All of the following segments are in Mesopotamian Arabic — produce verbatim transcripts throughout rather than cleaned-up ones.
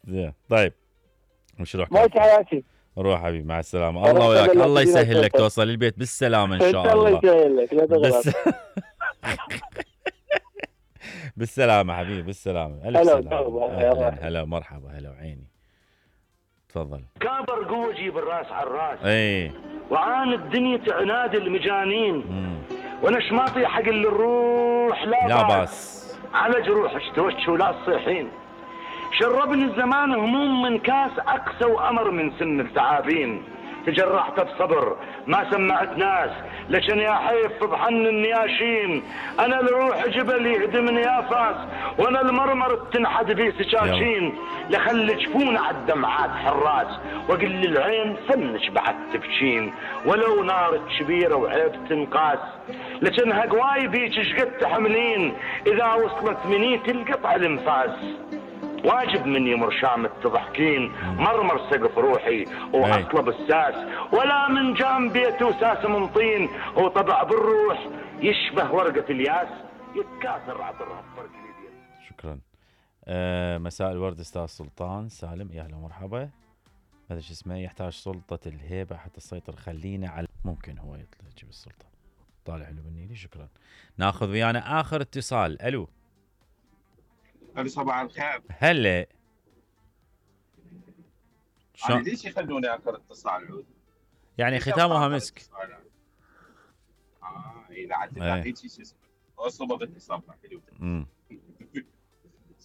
زين طيب وش روح موت حياتي. روح حبيبي مع السلامه. الله وياك. الله يسهل لك توصل البيت بالسلامه ان شاء الله. الله يسهل لك لا تغلط. بس... بالسلامه حبيبي بالسلامه. الف هلا سلامه. هلا هلا مرحبا هلا وعيني. تفضل. كابر قوه جيب الراس على الراس. اي وعاند دنيا عناد المجانين. مم. وانا شماطي حق اللي الروح لا, لا باس على جروحش توش ولا تصيحين. شربني الزمان هموم من كاس اقسى وامر من سن التعابين. تجرحت بصبر ما سمعت ناس لكن يا حيف بحن النياشين. انا الروح جبل يهدمني يا فاس وانا المرمر تنحد بي سكاكين. لخلي جفون على الدمعات حراس واقل للعين فنش بعد تبكين. ولو نار كبيره وعيب تنقاس لكنها قواي بيك شقد تحملين. اذا وصلت مني تلقطع الانفاس واجب مني مرشام تضحكين. مرمر سقف روحي واطلب الساس ولا من جام بيته ساس من طين. وطبع بالروح يشبه ورقة الياس يتكاثر عطرها بفرق اليدين. شكرا. آه مساء الورد استاذ سلطان سالم يا اهلا ومرحبا. هذا شو اسمه يحتاج سلطة الهيبة حتى تسيطر. خلينا على ممكن هو يطلع يجيب السلطة. طالع حلو بالنيلي. شكرا. ناخذ ويانا اخر اتصال. الو الو صباح الخير. هلا شلون ليش يخلوني اخر اتصال عود؟ يعني ختامها مسك. اه اي لا عاد هيك شو اسمه اصبغ اتصال حلو. امم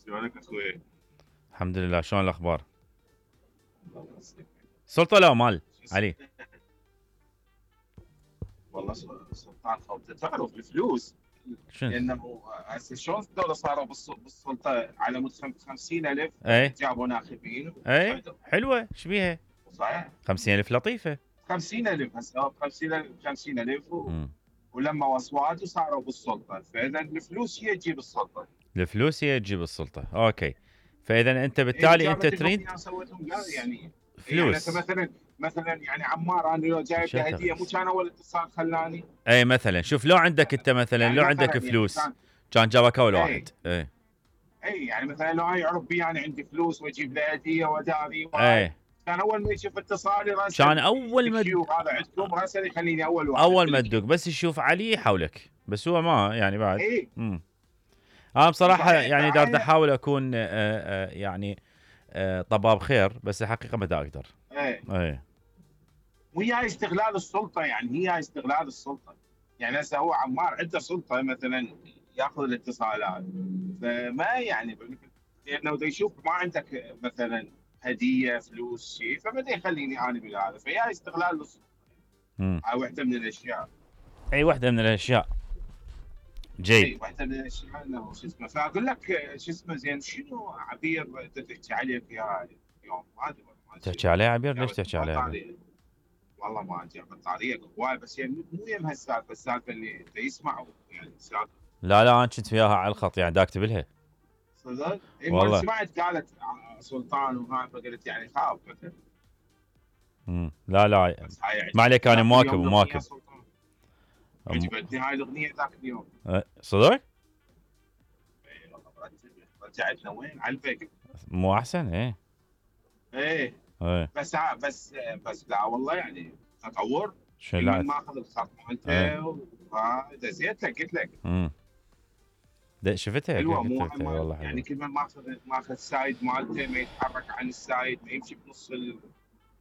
شلونك اخوي؟ الحمد لله. شلون الاخبار؟ سلطة لا مال علي. والله سلطان خوته تعرف الفلوس لانه هسه شلون الدوله صاروا بالسلطه على مود خمسين ألف. اي جابوا ناخبين. اي حلوه ايش بيها؟ صحيح خمسين ألف لطيفه. خمسين ألف هسه خمسين ألف خمسين ألف و... ولما اصوات وصاروا بالسلطه. فاذا الفلوس هي تجيب السلطه. الفلوس هي تجيب السلطه. اوكي. فاذا انت بالتالي إيه انت تريد يعني فلوس. يعني مثلا مثلا يعني عمار انا لو جايب له هديه مو كان اول اتصال خلاني. اي مثلا شوف لو عندك انت مثلا يعني لو عندك فلوس يعني كان جابك اول واحد. اي اي يعني مثلا لو يعرف بي انا عندي فلوس واجيب له هديه وداري اي كان اول ما يشوف اتصالي راسا كان اول ما هذا عندكم راسا يخليني اول واحد. اول ما تدق بس يشوف علي حولك بس هو ما يعني بعد. اي امم انا بصراحه يعني دار احاول اكون آآ آآ يعني آآ طباب خير بس الحقيقه ما دا اقدر. اي اي وهي استغلال السلطه يعني هي استغلال السلطه. يعني هسه هو عمار عنده سلطه مثلا ياخذ الاتصالات فما يعني لانه بده يشوف ما عندك مثلا هديه فلوس شيء فبدا يخليني انا بهذا فهي استغلال للسلطه. هاي وحده من الاشياء. اي وحده من الاشياء. جيد. اي وحده من الاشياء انه شو اسمه فاقول لك شو اسمه زين شنو عبير تحكي عليه في اليوم ما ادري تحكي عليه عبير ليش تحكي عليه عبير؟ والله ما ادري بطاريه هواي بس يعني مو يم هالسالفه السالفه اللي يسمعوا يعني السالفه. لا لا انا كنت وياها على الخط يعني دا اكتب لها. صدق؟ اي والله سمعت قالت سلطان وهاي فقلت يعني خاف مثلا. امم لا لا ما عليك انا مواكب ومواكب. عجبتني هاي الاغنيه ذاك اليوم. أه صدق؟ اي والله رجعتنا وين؟ على الفيك. مو احسن ايه. ايه ايه بس بس بس لا والله يعني تطور. شو لا ماخذ الخط مالته ودزيت لك قلت لك. امم شفتها حلوه مو والله حلوة. يعني كل ما ماخذ ماخذ السايد مالته ما يتحرك عن السايد ما يمشي بنص ال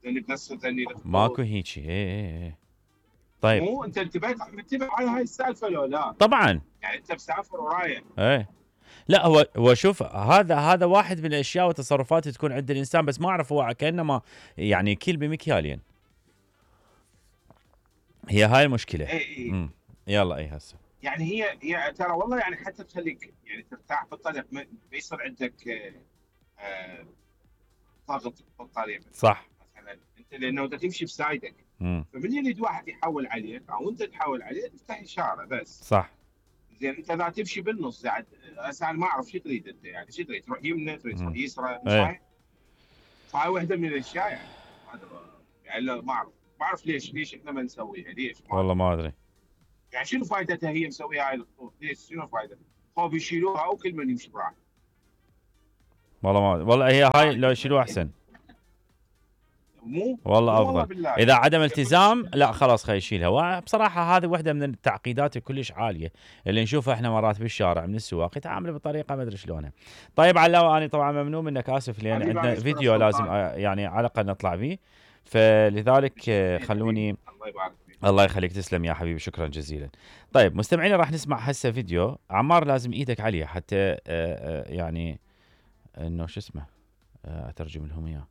ثاني بنص ثاني ماكو هيجي ايه ايه ايه. طيب مو انت انتبهت منتبه على هاي السالفه لو لا؟ طبعا يعني انت مسافر ورايح. ايه لا هو هو شوف هذا هذا واحد من الاشياء والتصرفات تكون عند الانسان بس ما اعرف هو كانما يعني كيل بمكيالين. هي هاي المشكله. اي اي امم يلا اي هسه يعني هي هي ترى والله يعني حتى تخليك يعني ترتاح بالطريق ما يصير عندك آه ضغط بالطريق صح مثلا انت لانه انت تمشي بسايدك فمن يريد واحد يحول عليك او انت تحول عليه تفتح اشاره بس. صح زين انت اذا تمشي بالنص يعني هسه انا ما اعرف شو تريد انت يعني شو تريد تروح يمنى تريد تروح يسرى صحيح؟ فهاي وحده من الاشياء يعني يعني ما اعرف ما اعرف ليش ليش احنا ما نسويها ليش؟ ما والله ما ادري يعني شنو فائدتها هي مسويها هاي الخطوط؟ ليش شنو فائدتها؟ خوف يشيلوها وكل من يمشي براحته. والله ما والله هي هاي لو شنو احسن مو والله مو افضل بالله. اذا عدم التزام لا خلاص خلي يشيلها. وبصراحه هذه واحده من التعقيدات كلش عاليه اللي نشوفها احنا مرات بالشارع من السواق يتعاملوا بطريقه ما ادري شلونها. طيب علاوه انا طبعا ممنون منك اسف لان حبيبي عندنا أنا فيديو أشكرك لازم سلطان. آه، يعني على الاقل نطلع فيه فلذلك آه، خلوني الله يبارك فيك. الله يخليك تسلم يا حبيبي شكرا جزيلا. طيب مستمعينا راح نسمع هسه فيديو عمار لازم ايدك عليه حتى آه، آه، يعني انه شو اسمه آه، اترجم لهم اياه.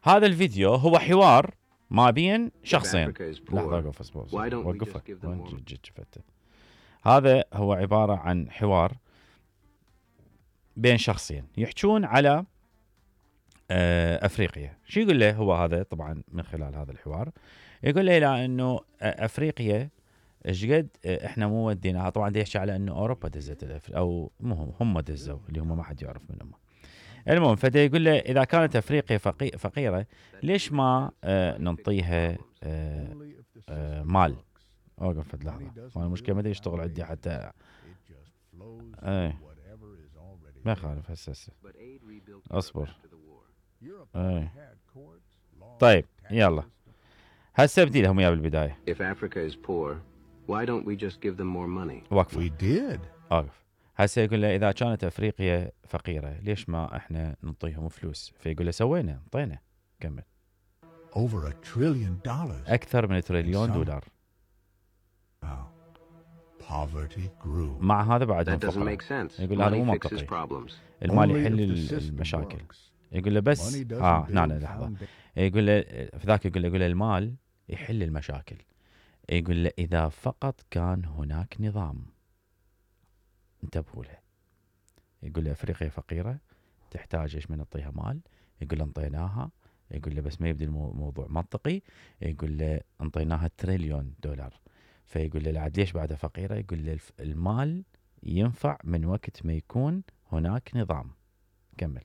هذا الفيديو هو حوار ما بين شخصين. لحظه اوقف اصبر وقفه شفته. هذا هو عباره عن حوار بين شخصين يحجون على آه، افريقيا. شو يقول له هو هذا طبعا من خلال هذا الحوار يقول له لا انه افريقيا ايش قد احنا مو وديناها. طبعا دا يحكي على انه اوروبا دزت الأفر... او مو هم هم دزوا اللي هم ما حد يعرف منهم. المهم فدا يقول له اذا كانت افريقيا فقي... فقيره ليش ما آه ننطيها آه آه مال. اوقف فد لحظه ما المشكله ما يشتغل عندي حتى ايه ما يخالف هسه هسه اصبر ايه. طيب يلا هسه ابدي لهم اياه بالبدايه. If Africa is poor, why don't we just give them more money? وقف We did. اوقف. هسه يقول له اذا كانت افريقيا فقيره ليش ما احنا نعطيهم فلوس. فيقول له سوينا انطينا. كمل. Over a trillion dollars. اكثر من تريليون دولار. Wow. Poverty grew. مع هذا بعدهم That doesn't فقراء. make sense. يقول هذا مو Money fixes منطقي. problems. المال Only يحل if the system المشاكل. works. يقول له بس Money doesn't اه build هنا لحظه. foundation. يقول له في ذاك يقول له يقول له المال يحل المشاكل. يقول له اذا فقط كان هناك نظام. انتبهوا له. يقول له افريقيا فقيره تحتاج ايش من نعطيها مال. يقول له انطيناها. يقول له بس ما يبدي الموضوع منطقي. يقول له انطيناها تريليون دولار. فيقول له لعد ليش بعدها فقيره. يقول له المال ينفع من وقت ما يكون هناك نظام. كمل.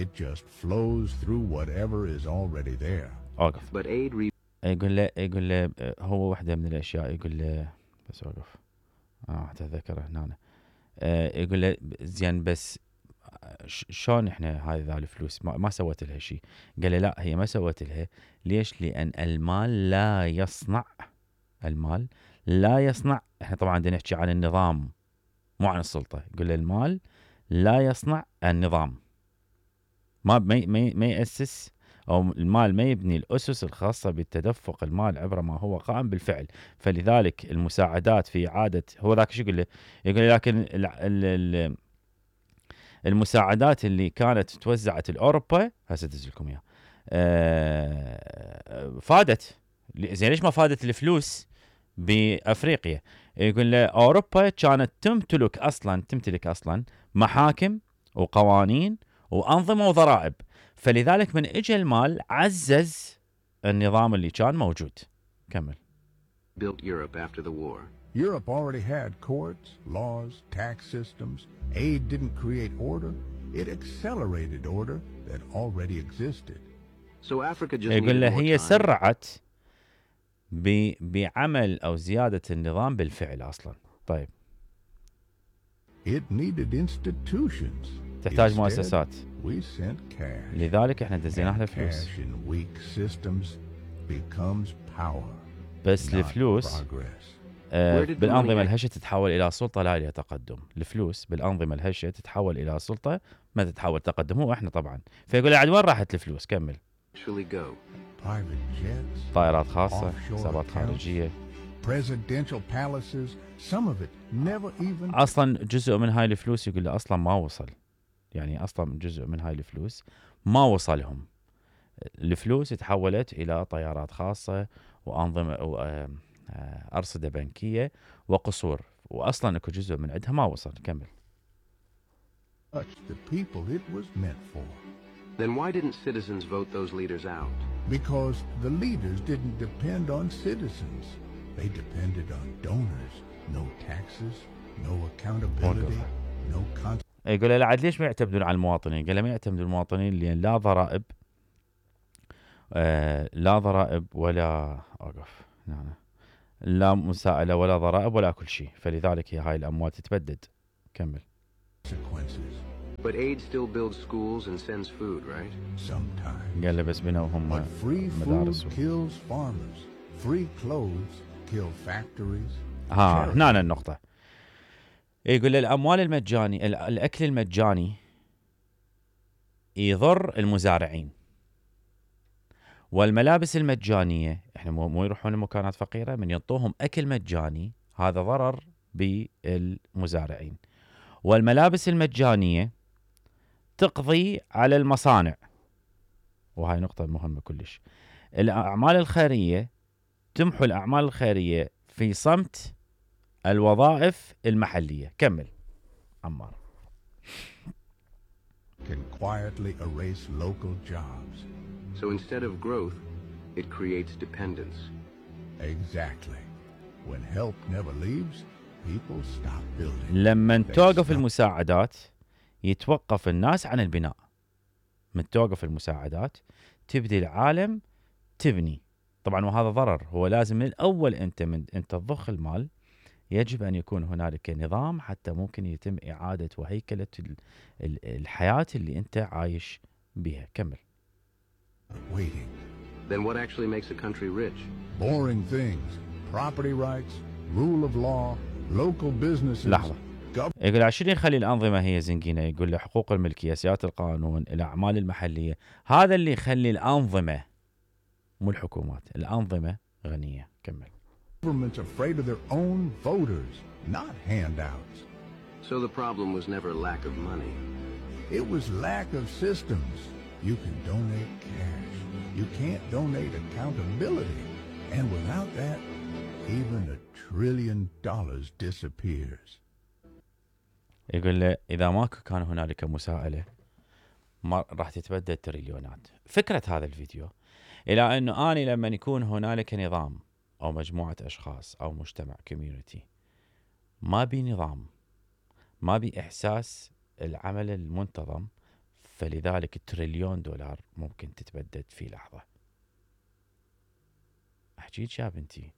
It just flows through whatever is already there. اوقف. But aid re- يقول له يقول له هو واحده من الاشياء يقول له بس اوقف اه اتذكر هنا. آه يقول له زين بس شلون احنا هذه الفلوس ما, ما سوت لها شيء. قال له لا هي ما سوت لها. ليش؟ لان المال لا يصنع. المال لا يصنع. احنا طبعا بدنا نحكي عن النظام مو عن السلطه. يقول له المال لا يصنع النظام. ما ما ما يأسس او المال ما يبني الاسس الخاصه بالتدفق المال عبر ما هو قائم بالفعل. فلذلك المساعدات في اعاده هو ذاك شو يقول له. يقول له لكن ال ال ال المساعدات اللي كانت توزعت لاوروبا هسه ادز لكم اياها آه فادت. زين ليش ما فادت الفلوس بافريقيا؟ يقول له اوروبا كانت تمتلك اصلا تمتلك اصلا محاكم وقوانين وانظمه وضرائب. فلذلك من اجى المال عزز النظام اللي كان موجود. كمل. built Europe after the war. Europe already had courts, laws, tax systems. Aid didn't create order. It accelerated order that already existed. So Africa just يقول له needed more هي time. سرعت ب- بعمل او زياده النظام بالفعل اصلا. طيب. It needed institutions. تحتاج Instead, مؤسسات. we sent cash. لذلك احنا دزينا And لها فلوس. cash in weak systems becomes power. بس not progress. آه Where did the بالانظمه money- الهشه تتحول الى سلطه لا الى تقدم. الفلوس بالانظمه الهشه تتحول الى سلطه ما تتحول تقدم. هو احنا طبعا. فيقول له عاد وين راحت الفلوس. كمل. Actually go. Private jets, طائرات خاصه Offshore حسابات accounts. خارجيه. presidential palaces, some of it never even اصلا جزء من هاي الفلوس يقول له اصلا ما وصل. يعني اصلا جزء من هاي الفلوس ما وصلهم. الفلوس تحولت الى طيارات خاصه وانظمه وارصده بنكيه وقصور واصلا اكو جزء من عندها ما وصل. كمل. touch the people it was meant for. Then why didn't citizens vote those leaders out? Because the leaders didn't depend on citizens. They depended on donors. No taxes, no accountability, no con- يقول له عاد ليش ما يعتمدون على المواطنين؟ قال له ما يعتمدون المواطنين لان لا ضرائب آه لا ضرائب ولا اوقف هنا لا مساءله ولا ضرائب ولا كل شيء. فلذلك هي هاي الاموال تتبدد. كمل. consequences. But aid still builds schools and sends food, right? Sometimes. قال له بس بنوا هم But free food مدارس. kills farmers. Free clothes kill factories. ها هنا النقطة. يقول له الأموال المجاني الأكل المجاني يضر المزارعين، والملابس المجانية احنا مو, مو يروحون لمكانات فقيرة من يعطوهم أكل مجاني، هذا ضرر بالمزارعين. والملابس المجانية تقضي على المصانع، وهاي نقطة مهمة كلش. الأعمال الخيرية تمحو الأعمال الخيرية في صمت الوظائف المحلية. كمل عمار. Can quietly erase local jobs. So instead of growth, it creates dependence. Exactly. When help never leaves, people stop building. لما They توقف stop. المساعدات يتوقف الناس عن البناء. من توقف المساعدات تبدي العالم تبني. طبعا وهذا ضرر. هو لازم من الأول أنت من أنت تضخ المال يجب أن يكون هنالك نظام حتى ممكن يتم إعادة وهيكلة الحياة اللي أنت عايش بها. كمل. Waiting. Then what actually makes a country rich? Boring things. Property rights, rule of law, local businesses. لحظة. gov- يقول عشان يخلي الأنظمة هي زنقينة، يقول له حقوق الملكية، سيادة القانون، الأعمال المحلية، هذا اللي يخلي الأنظمة مو الحكومات، الأنظمة غنية. كمل. Governments afraid of their own voters, not handouts. So the problem was never lack of money. It was lack of systems. You can donate cash. You can't donate accountability. And without that, even a trillion dollars disappears. يقول له إذا ما كان هنالك مساءلة ما راح تتبدل تريليونات. فكرة هذا الفيديو إلى أنه أنا لما يكون هنالك نظام أو مجموعة أشخاص أو مجتمع كوميونيتي ما بي نظام، ما بي إحساس العمل المنتظم، فلذلك التريليون دولار ممكن تتبدد في لحظة. أحكيك يا بنتي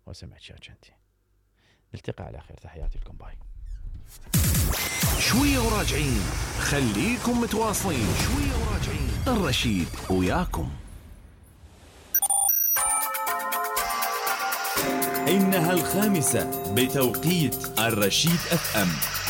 وسمعك يا جنتي. نلتقي على خير. تحياتي لكم. باي. شوية وراجعين، خليكم متواصلين. شوية وراجعين، الرشيد وياكم. إنها الخامسة بتوقيت الرشيد اف ام.